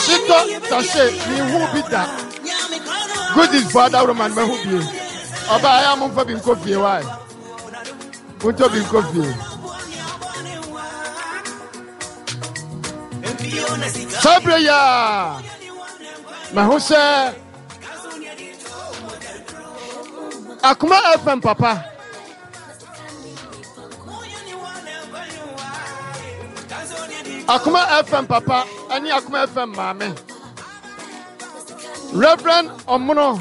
Hyetɔ sachet menhuu bi da. Goodies fo adaworoma no mahu bie. Ɔbaa ɛyɛ a momfa bi nkɔ fie wae. Montɔ bi nkɔ fie. Saa berɛ yi a mahu sɛ Akoma FM papa Akoma FM papa ɛne Akoma FM maame Reverend Ɔmono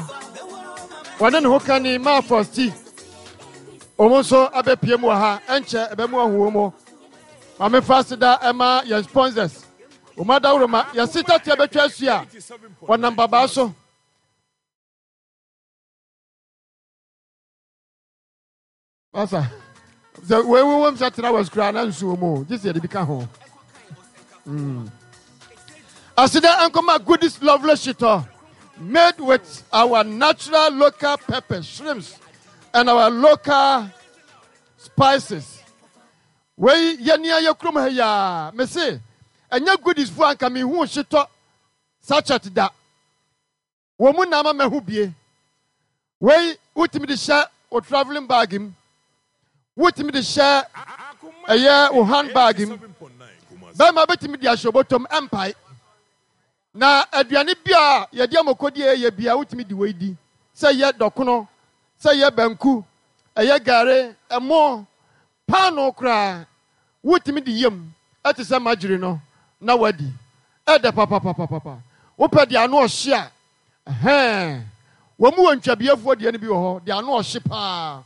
wɔne ne ho kani maa Fɔsti wɔn nso abɛpie mu wɔ ha ɛnkyɛ ɛbɛmu ahu wɔn mu maame fa aseda ɛma yɛn sponsors wɔn adaworoma yɛsi tateɛ bɛtwa asu a wɔnam babaa so. Asa sɛ wei wowom sɛ tena wɔ koraa na nsuo mu gye sɛ yɛde bi ka ho. Aseda nkɔma Goodies Lovely Shitɔ made with our natural local pepper, shrimps and our local spices. Wei yɛ nea yɛ kurom ha yi a mese ɛnyɛ Goodies fo anka mehu shitɔ sachet da. Wɔn mu na ama mahu bie. Wei wotumi de hyɛ wo travelling bag mu. Wotumi de hyɛ ɛyɛ wo hand bag mu. Bɛrima bɛtumi de ahyɛ obotom ɛmpae. Na aduane bi a yɛde amokodi ɛyɛ bia wotumi de wei di. Sɛ yɛ dɔkono, sɛ yɛ banku, ɛyɛ gare, ɛmo, Paanoo koraa wotumi de yam te sɛ margarine no na woadi. Ɛdɛ papapapapa. Wopɛ deɛ ano ɔhye a, ɛhɛɛ. Wɔn wɔ ntwabiefoɔ deɛ no bi wɔ hɔ, deɛ ano ɔhye paa.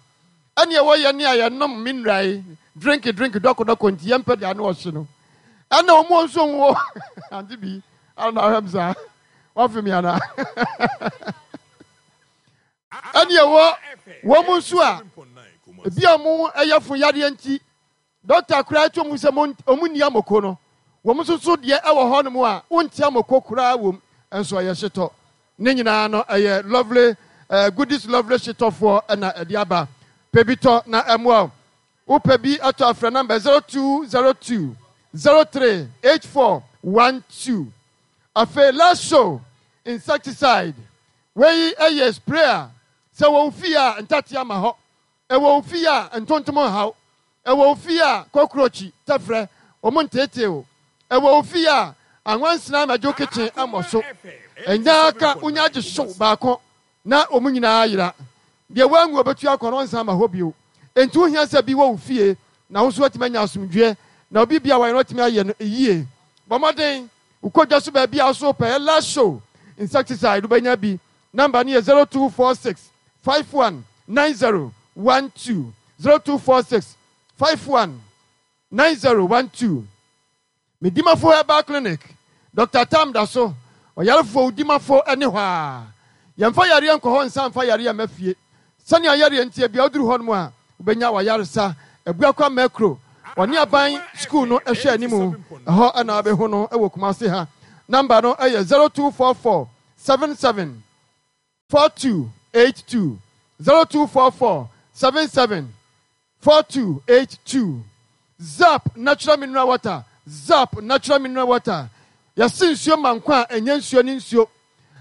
Ɛne ɛwɔ yɛn a yɛnom mineral yi, drink drink dɔkɔdɔkɔ nti yɛmpɛ deɛ ano ɔhye no. Ɛna wɔn wɔ nso wɔ ante bi, ana ahwɛ m saa, wafe me anaa? Ɛne ɛwɔ wɔn nso a ebi a wɔn yafunu yareɛ nti dɔkta koraa to mu sɛ wɔn nni amoko no, wɔn nso so deɛ ɛwɔ hɔ nom a wonte amoko koraa wom nso ɛyɛ hyetɔ. Ne nyinaa no ɛyɛ lovely eh, goodies lovely hyetɔfoɔ ɛna ɛde aba. Pɛ bi tɔ na ɛmmoa wo. Wopɛ bi atɔ afrɛ namba 0202 03 84 12. Afei last show insecticide Wei yɛ spray a sɛ wɔ wo fie a ntatea ma hɔ, ɛwɔ wo fie a ntontom nhaw, ɛwɔ wo fie a kɔkrokyi, tɛfrɛ, wɔn nteetee wo, ɛwɔ wo fie a anwansena mmɛgye wo kitchen mmɔ so. Ɛnyɛ aka wonya gye hyew baako na wɔn nyinaa ayera. Deɛ wanwu a ɔbɛtu akɔ no ɔnsan mma hɔ bio. Enti wohia sɛ bi wɔ wo fie na wo nso woatumi anya asomdwoeɛ na obi biara a wayɛ no watumi ayɛ no yie. Bɔ mmɔden Wokɔ dwa so baabi a so wopɛ Ella Show insecticide wobɛnya bi. Number no yɛ 0246 51 90 12, 0246 51 90 12. Medimafo Herbal Clinic, Doctor Tam da so, ɔyarefoɔ wodimafo ne hɔ a. Yɛmfa yareɛ nkɔ hɔ nsa mfa yareɛ mma fie. Sɛnea yareɛ nteɛ biara woduru hɔnom a wobɛnya w'ayaresa. Abuakwa Mɛkro, ɔne aban sukuu no hwɛ anim, ɛhɔ na wobɛhu no wɔ Kumasi ha. Number no yɛ 0244 77 4282, 0244 77 4282. Zap Natural Mineral Water, Zap Natural Mineral Water, Yɛse nsuo ma nkwa a, ɛnyɛ nsuo ne nsuo.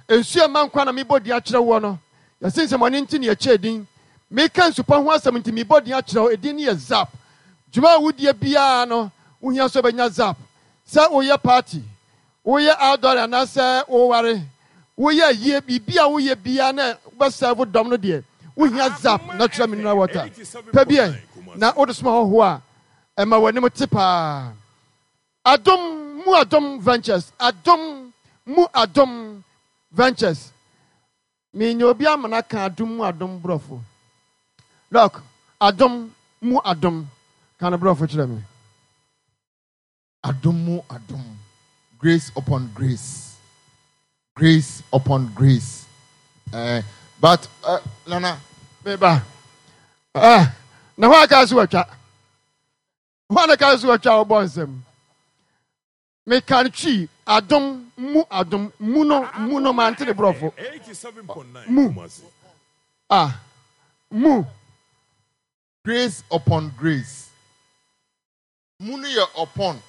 Nsuo a ɛma nkwa na mebɔ din akyerɛ woɔ no. Yɛse nsɛmmɔne nti na yɛkyɛɛ din. Meka nsupa ho asɛm nti mebɔ din akyerɛ wo, edin no yɛ Zap. Dwuma a wodie biara no, wohia sɛ wobɛnya Zap. Sɛ woyɛ party, woyɛ outdooring anaasɛ woware, woyɛ ayie, biribi a woyɛ biara na wobɛsɛɛvo dɔm no deɛ, wohia Zap Natural Mineral Water. Pɛ bi ɛ, na wode soma hɔhoɔ a, ɛma w'anim te paa. Adom mu adom ventures adom mu adom ventures menya obi amena ka adom mu adom brɔfo doc adom mu adom ka no brɔfo kyerɛ me. Adom mu adom grace upon grace grace upon grace eh, but eh, nana. Meba eh, na hɔ aka so watwa. Hwan na ka so atwa wo bɔ nsam? Meka no twi adom mu adom mu no mu no mante ne borɔfo mu ah mu. Grace upon grace. Mu no yɛ upon.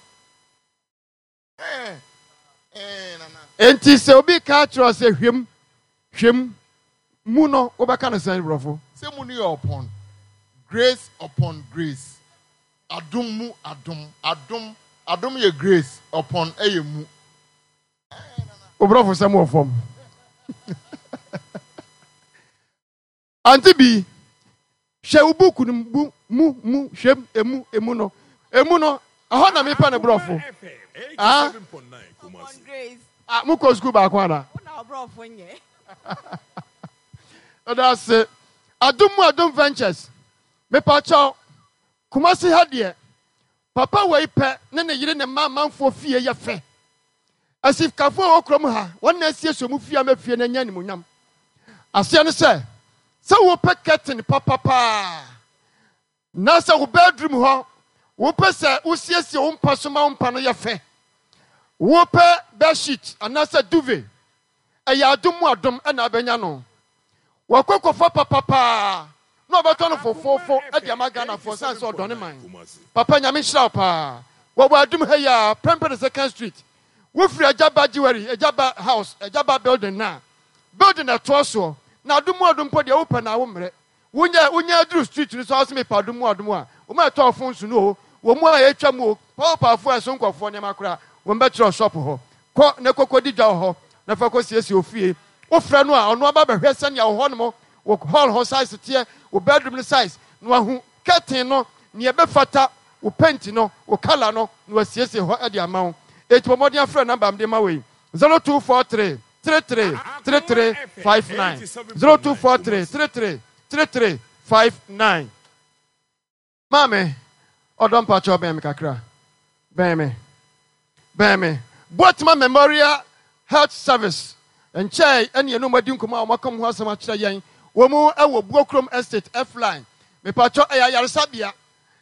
Eh, eh, nana. Enti sɛ obi ka kyerɛ wo sɛ hwɛ mu, hwɛ mu, mu no, wobɛka no sɛn borɔfo? Sɛ mu no yɛ upon, grace upon grace. Adom mu adom, adom, adom yɛ grace, upon yɛ mu. Wo borɔfo sɛm wɔ fam. Ante bi, hwɛ wo buku no mu, mu, mu, hwɛ mu, emu, emu no, emu no, ɛhɔ na mepɛ no borɔfo. Ah, ah, mokɔ sukuu baako ana? Ɛda ase. Adom mu Adom Ventures. Mepakyɛw, Kumasi ha deɛ, papa wei pɛ ne ne yere ne mma amanfoɔ fie yɛ fɛ. Asikafoɔ a wɔwɔ kurom ha, wɔn na asiesie wɔn fie ama fie no anya animuonyam. Aseɛ ne sɛ, sɛ wopɛ curtain papa paa, na sɛ wo bedroom hɔ, wopɛ sɛ wosiesie wo mpa so ma wo mpa no yɛ fɛ, wopɛ bedsheet anaasɛ duvet, ɛyɛ adom mu adom na abɛnya no. Wakɔ kɔfa papa paa na ɔbɛtɔ no fofoofo de ama Ghanafoɔ sane sɛ ɔdɔ ne man. Papa Nyame nhyira wo paa. Wɔwɔ adum ha yi ara, Prempeh the second street. Wo firi Agyaba Jewelry, Agyaba house, Agyaba building no a, building a ɛtoa soɔ. Na adom mu adom mpo deɛ wo pɛ na wo mmerɛ. Wo nya wo nya aduru street no so a wo se mepɛ adom mu adom a, wɔn a ɛtɔɔ phones no o, wɔn a ɛtwa mu o, paopaafoɔ a ɛso nkurɔfoɔ nneɛma koraa, wɔn bɛkyerɛ wo shop hɔ. Kɔ na kɔ kɔdi dwa wɔ hɔ na fa kɔsiesie wo fie. Wofrɛ no a, ɔno aba bɛhwɛ sɛnea wo hɔnom, wo hall hɔ size teɛ, wo bedroom no size, na wahu curtain no, nea ɛbɛfata wo paint no, wo colour no, na wasiesie hɔ de ama wo. Enti bɔ mmɔden afrɛ number a mede ma wo yi, 0243 33 33 59, 0243 33 33 59. Maame, ɔdɔ mpakyɛw bɛn me kakra. Bɛn me. Bɛn me. Boatema Memorial Health Service nkyɛe ɛne yɛne wɔn adi nkɔmmɔ a wɔaka wɔn ho asɛm akyerɛ yɛn. Wɔn wɔ Buokrom Estate, F-Line. Mepakyɛw, ɛyɛ ayaresabea.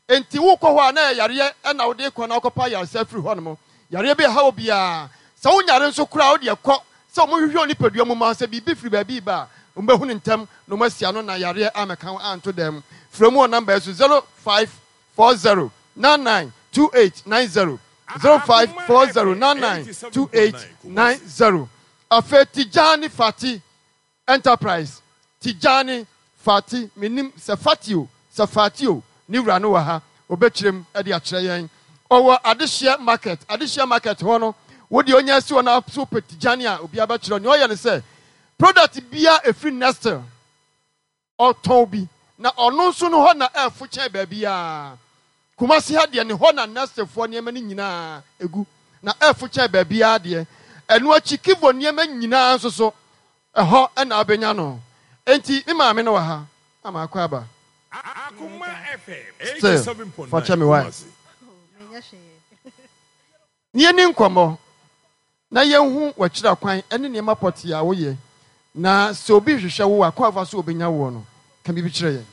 Enti wokɔ hɔ a na ɛyɛ yareɛ na wode rekɔ na wokɔpɛ ayaresa afiri hɔnom. Yareɛ bi ɛha wo biara. Sɛ wonyare nso koraa a, wode kɔ sɛ wɔhwehwɛ wo nipadua mu ma sɛ biribi firi baabi reba a, wɔbɛhu no ntɛm na wɔasi ano na yareɛ ammɛka wo anto dan mu. Frɛ mu wɔ nɔmba yi so, 0540 99 2890, 0540 99 2890. Afei Tijani Fati Enterprise, Tijani Fati, mennim sɛ Fati o, sɛ Fati o, ne wura no wɔ ha, ɔbɛkyerɛ mu de akyerɛ yɛn. Ɔwɔ Adehyeɛ Market, Adehyeɛ Market hɔ no, wo deɛ ɔnya asi hɔ na so wopɛ Tijani a, obiara bɛkyerɛ wo. Nea ɔyɛ ne sɛ, product biara ɛfiri Nestle, ɔtɔn bi, na ɔno nso no hɔ na ɛfo kyɛn baabiara. Kumasi ha deɛ, ne hɔ na Nestlefoɔ nneɛma no nyinaa gu, na ɛfo kyɛn baabiara deɛ. Ɛno akyi, Kivo nneɛma nyinaa nso so, ɛhɔ na wobɛnya no. Enti me maame no wɔ ha, na makɔ aba. Still, fa kyɛ me wai. Na yɛnni nkɔmmɔ, na yɛnhu w'akyira kwan ne nneɛma pɔtee a woyɛ, na sɛ obi rehwehwɛ wo a, kwan a ɔfa so obenya woɔ no, ka biribi kyerɛ yɛn.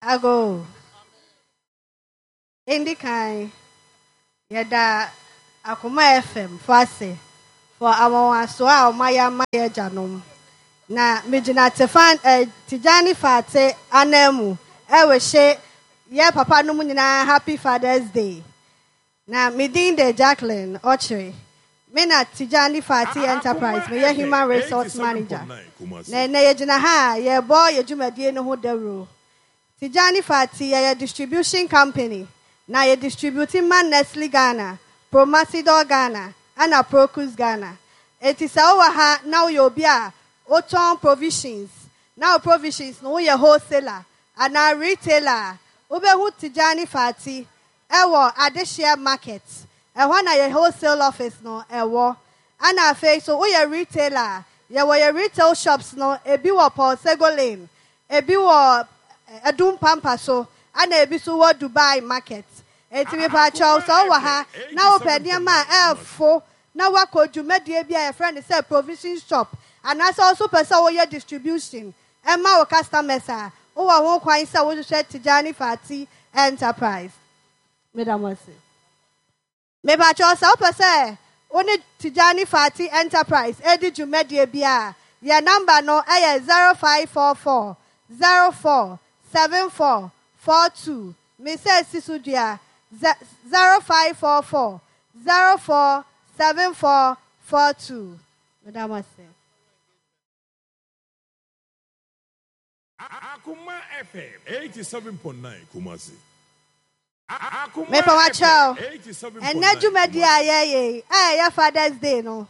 Ago. Ndi kan, yɛda Akoma FM fo ase for anwanwasoɔ a wɔayɛ ama yɛn agyanom. Na megyina Tefan, eh, Tijani Fate ananmu ɛrehye yɛ papa nom nyinaa Happy Father's Day. Na me din de Jacqueline Ɔkyere. Me na Tijani Fati Enterprise meyɛ Human Resource Manager. Na ɛnnɛ yɛgyina ha a yɛrebɔ yɛ dwumadie no ho dawuro. Tijani Fati yɛyɛ distribution company na yɛ distribute ma Nestle Ghana, Promasidor Ghana ɛna Procus Ghana. Enti sɛ wowɔ ha na woyɛ obi a wotɔn provisions na wo provisions no woyɛ wholesaler anaa retailer a, wobɛhu Tijani Fati Ɛwɔ Adehyeɛ market, ɛhɔ na yɛ wholesale office no ɛwɔ. Ɛna afei nso woyɛ retailer a, yɛwɔ yɛ retail shops no ebi wɔ Paul Sego Lane, ebi wɔ Adum Pampa so, ɛna ebi nso wɔ Dubai market. Enti mepakyɛw sɛ wowɔ ha na wopɛ nneɛma a ɛfo na woakɔ dwumadie bi a yɛfrɛ no sɛ provision shop anaasɛ wo nso wopɛ sɛ woyɛ distribution ma wo customers a, wowɔ ho kwan sɛ wohwehwɛ Tijani Fati Enterprise. Meda mo ase. Mepakyɛw sɛ wopɛ sɛ wo ne Tijani Fati Enterprise di dwumadie bi a, yɛn number no yɛ 0544 04 74 42. Me sɛ si so dua, 0544 04. 7442. Meda mo ase. Akoma FM 87.9 Kumasi. Akoma Mepa wo kyɛw, FM 87.9 ɛnnɛ dwumadi a Kumasi. yɛyɛ yi, a ɛyɛ Father's Day no,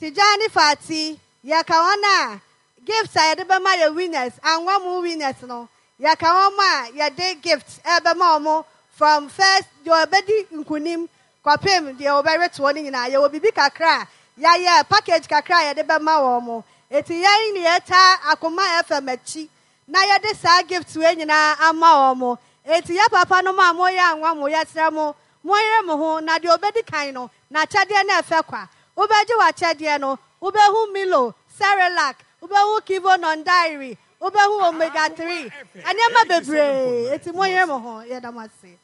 Tijani Fati, yɛka wɔn a gift a yɛde bɛma yɛ winners, anwa mu winners no, yɛka wɔn a yɛde gift ɛbɛma wɔn from first deɛ ɔbɛdi nkunim kɔpem deɛ ɔbɛretoɔ no nyinaa. Yɛwɔ biribi kakra a yɛayɛ package kakra a yɛde bɛma wɔn. Eti yɛn ne yɛta Akoma FM akyi na yɛde saa gift wei nyinaa ama wɔn. Eti yɛ papa no mo a moyɛ anwa mo, yɛsrɛ mo, monyere mo ho na deɛ obɛdi kan no, n'akyɛdeɛ no ɛfɛ kwa. Wobɛgye w'akyɛdeɛ no, wobɛhu Milo, Cerelac, wobɛhu Kivo non-dairy, wobɛhu Omega Akoma 3, FM nneɛma bebree. 87.9 Eti monyere Kumasi. mo ho, yɛda mo ase.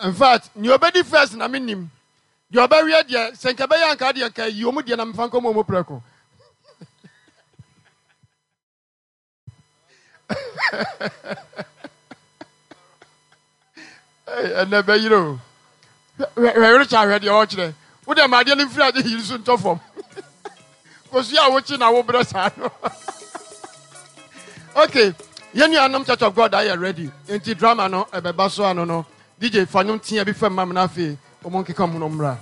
In fact, nea obedi first na menim. Deɛ ɔbɛweɛ deɛ, sɛ nka ɛbɛyɛ anka deɛ nka yi ɔmu deɛ na mefa nkɔma ɔmu prɛko. Ei, ɛnɛ bɛyere o. Hwɛ hwɛ Richard, hwɛ deɛ ɔkyerɛ. Wo deɛ ma adeɛ no mfiri ade yiri so ntɔ fam. Kosua a wokyi na wobrɛ saa no. Okay, yɛn nuanom Church of God ayɛ ready. Nti drama no ɛbɛba so ano no. DJ fa nnwom tea bi fam ma me na afei wɔn nkeka mu no mmra.